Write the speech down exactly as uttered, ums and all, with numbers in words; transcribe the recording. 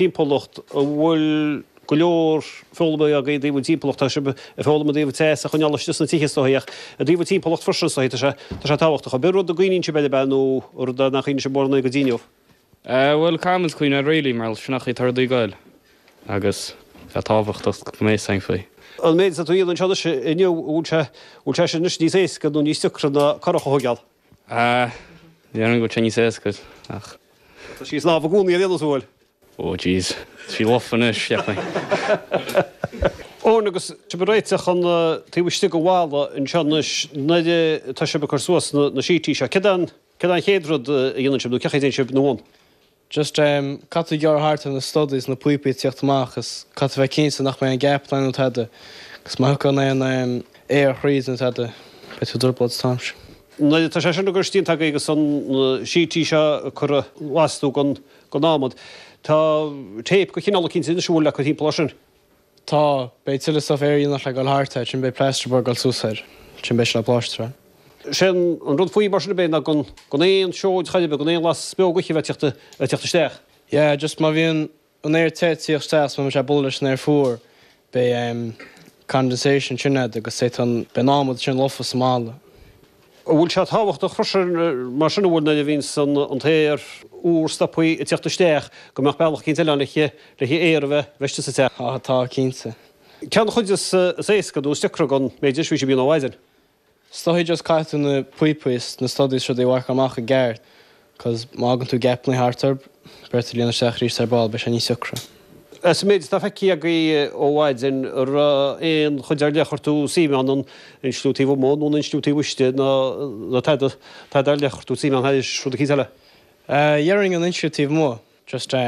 Timpeallacht a bhfuil go leor foghlama agaibh i dtaobh an timpeallacht tá sibh ag foghlaim i dtaobh teas a choinneáil istigh sna tithe is dóigh ach i dtaobh an timpeallacht freisin is dóigh tá sé tá sé tábhachtach. Ab é rud a gcuimhníonn sibh air ab ea nó rud nach gcuimhníonn sibh mórán air go dtí inniu? Bhuel caithfimid cuimhneamh air really mar sin an chaoi atá rudaí ag goil agus tá tábhachtach go mbeidh sain faoi. An méid atá tú a dhéanamh anseo anois inniu bhfuil sé bhfuil sé sin anois níos éasca nó níos deacra ná curach a thógáil? Déarfainn go bhfuil sé níos éasca ach. Tá sí snámh i gcónaí ar aon nós an bhfuil? Oh jeez, tá sí lofa anois, cheapfainn. Eoin agus sibh ag réiteach an taobh istigh den bhalla anseo anois nuair atá sibh ag cur suas na na sítaí seo, céard an céard an chéad rud a dhéanann sibh nó cén chaoi a dtéann sibh ina bhun? Just um, caithfidh tú gearradh thart ar na studies na píopaí ag tíocht amach is caithfidh bheith cinnte nach mbeidh aon gap nó tada, agus má thiocfaidh aon um, aer thríd nó tada, beidh tú i dtrioblóid an t-am sin. Nuair atá sé sin á chur istigh agaibh agus an sítaí seo curtha lastú den den adhmad, tá tape de chineál eicínt anois an bhfuil le cur timpeall air sin. Tá, beidh tuilleadh stuff aerdhíonach le dul thart air, sin beidh plasterboard ag dul suas air, sin beidh sé le pláistear. Sé an rud faoi mar sin ab é ná gan gan aon seoid chor ar bith, gan aon bhlas beogaithe a bheith ag teacht ag teacht isteach. Yeah, just má bhíonn an aer te ag tíocht isteach, má bhíonn sé ag bualadh leis an aer fuar, beidh um, condensation sin agat agus beidh an beidh an adhmad sin lofa sa mballa. An bhfuil sé tábhachtach freisin mar sin an bhfuil nuair a bhíonn san an t-aer úr stopthaí ag teacht isteach go mbeadh bealach eicínt eile ann le le aer a bheith bheith istigh sa teach. Tá, tá, cinnte. Cén chuid is is éasca nó is deacra den méid is bhí sé bíonn ó mhaidin. Is dóigh just caithfidh tú na píopaí is na studies rudaí a mharcáil amach i gceart, cos má fhágann tú gapanna thart orthu, beidh tú ag líonadh isteach arís ar ball, beidh sé níos deacra. As an méid atá feicthe agaibh ó mhaidin, an raibh aon chuid ar leith a chuir tú suim ann, an insliú taobh amuigh nó an insliú taobh istigh nó nó tada tada ar leith a chuir tú suim ann thairis rud eicínt eile? Uh, Dhéarfainn an insliú taobh amuigh, just um,